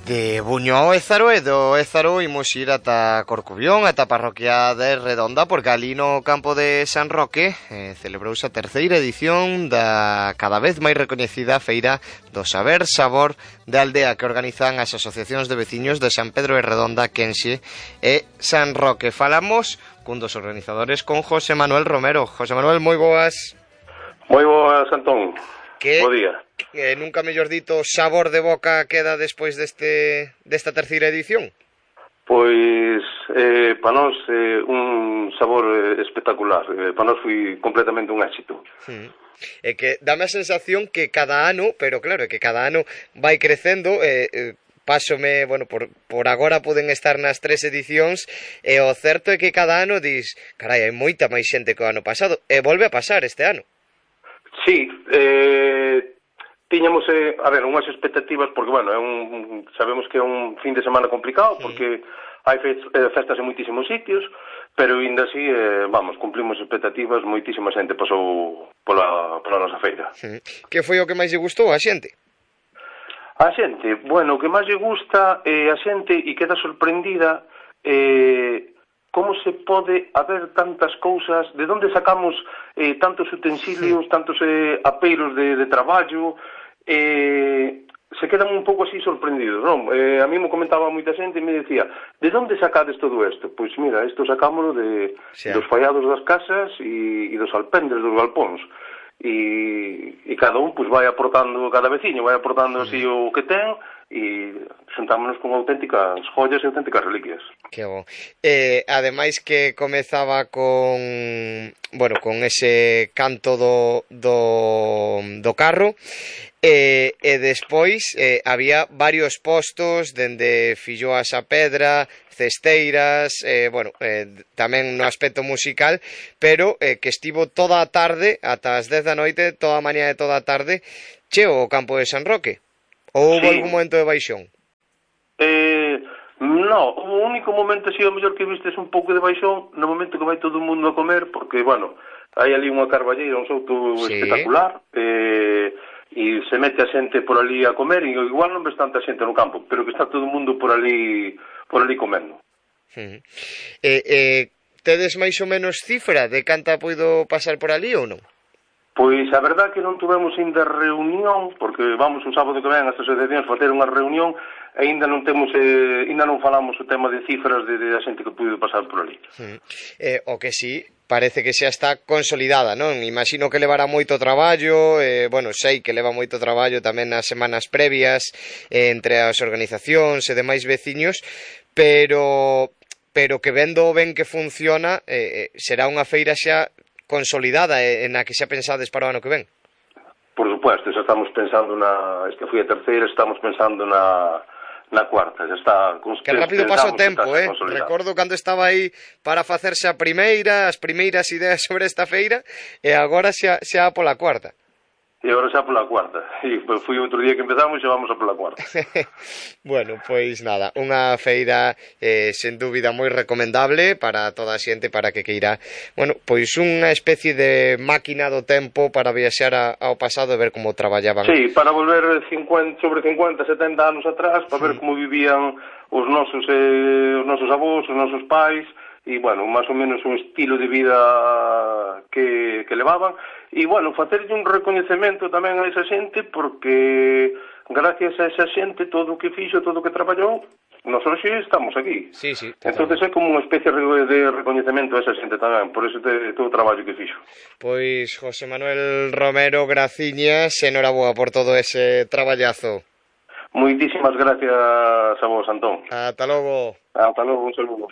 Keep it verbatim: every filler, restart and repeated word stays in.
De Buño ao Ézaro e do Ézaro imos ir ata Corcubión, ata a parroquia de Redonda, porque ali no campo de San Roque eh, celebrouse a terceira edición da cada vez máis recoñecida Feira do Saber Sabor de Aldea, que organizan as asociacións de veciños de San Pedro de Redonda, Quenxe e San Roque. Falamos cun dos organizadores, con José Manuel Romero. José Manuel, moi boas. Moi boas, Antón. Que, bo día. Que nunca mellor dito sabor de boca queda despois deste desta terceira edición? Pois, eh, para nós, eh, un sabor eh, espectacular. Eh, para nós foi completamente un éxito. Sí. É que dame a sensación que cada ano, pero claro, é que cada ano vai crecendo, eh, eh, pásome, bueno, por, por agora poden estar nas tres edicións, e o certo é que cada ano dis, carai, hai moita máis xente que o ano pasado, e volve a pasar este ano. Sí, eh, tiñamos, eh, a ver, unhas expectativas, porque, bueno, é un, sabemos que é un fin de semana complicado, sí, porque hai festas en moitísimos sitios, pero ainda así, eh, vamos, cumplimos expectativas, moitísima xente pasou pola, pola nosa feira. Sí. Que foi o que máis lle gustou a xente? A xente, bueno, o que máis lle gusta é eh, a xente e queda sorprendida eh, como se pode haber tantas cousas, de onde sacamos eh, tantos utensilios, sí, tantos eh, apeiros de, de traballo, eh, se quedan un pouco así sorprendidos, non? Eh, a mí me comentaba moita xente e me decía, de onde sacades todo isto? Pois mira, isto sacámoslo de, sí, dos fallados das casas e, e dos alpendres dos galpóns. E, e cada un pois vai aportando, cada veciño vai aportando así o que ten, e xuntámonos con auténticas joyas e auténticas reliquias. Que bo. Eh, ademais que comezaba con, bueno, con ese canto do, do, do carro, e, e despois eh, había varios postos dende filloas a pedra, cesteiras, eh, bueno, eh, tamén no aspecto musical, pero eh, que estivo toda a tarde, ata as dez da noite, toda a mañá e toda a tarde, cheo o campo de San Roque. Ou houve, sí, algún momento de baixón? Eh, no, o único momento así, o mellor que vistes un pouco de baixón, no momento que vai todo o mundo a comer, porque, bueno, hai ali unha carballeira, un souto, sí, espectacular, eh, e se mete a xente por ali a comer, e igual non ves tanta xente no campo, pero que está todo o mundo por ali por ali comendo. Uh-huh. Eh, eh, tedes máis ou menos cifra de canta poido pasar por ali ou non? Pois a verdad que non tuvemos ainda reunión, porque vamos o sábado que ven as asociacións facer unha reunión, e ainda non temos, eh, ainda non falamos o tema de cifras de, de a xente que puido pasar por ali. Uh-huh. Eh, o que sí, parece que xa está consolidada, non? Imagino que levará moito traballo, eh, bueno, sei que leva moito traballo tamén nas semanas previas eh, entre as organizacións e demais veciños, pero pero que vendo ben que funciona, eh, será unha feira xa consolidada e na que xa pensades para o ano que ven. Por supuesto, xa estamos pensando na, esta foi a terceira, estamos pensando na na cuarta, xa está. Que rápido pasa o tempo, eh? Recordo cando estaba aí para facerse a primeira, as primeiras ideas sobre esta feira, e agora xa, xa pola cuarta. E agora xa pola cuarta. E foi outro día que empezamos e xa vamos a pola cuarta. Bueno, pois nada, unha feira eh, sen dúbida moi recomendable para toda a xente, para que queira, bueno, pois unha especie de máquina do tempo para viaxar a, ao pasado e ver como traballaban. Sí, para volver cincuenta, sobre cincuenta, setenta anos atrás, para, sí, ver como vivían os nosos, eh, os nosos avós, os nosos pais, e, bueno, máis ou menos un estilo de vida que, que levaban, e, bueno, facerlle un recoñecemento tamén a esa xente, porque gracias a esa xente, todo o que fixo, todo o que traballou, nós hoxe estamos aquí. Sí, sí, entón é como unha especie de recoñecemento a esa xente tamén, por ese todo o traballo que fixo. Pois, José Manuel Romero, graciñas, enhoraboa por todo ese traballazo. Moitísimas gracias a vos, Antón. Ata logo. Ata logo, un saludo.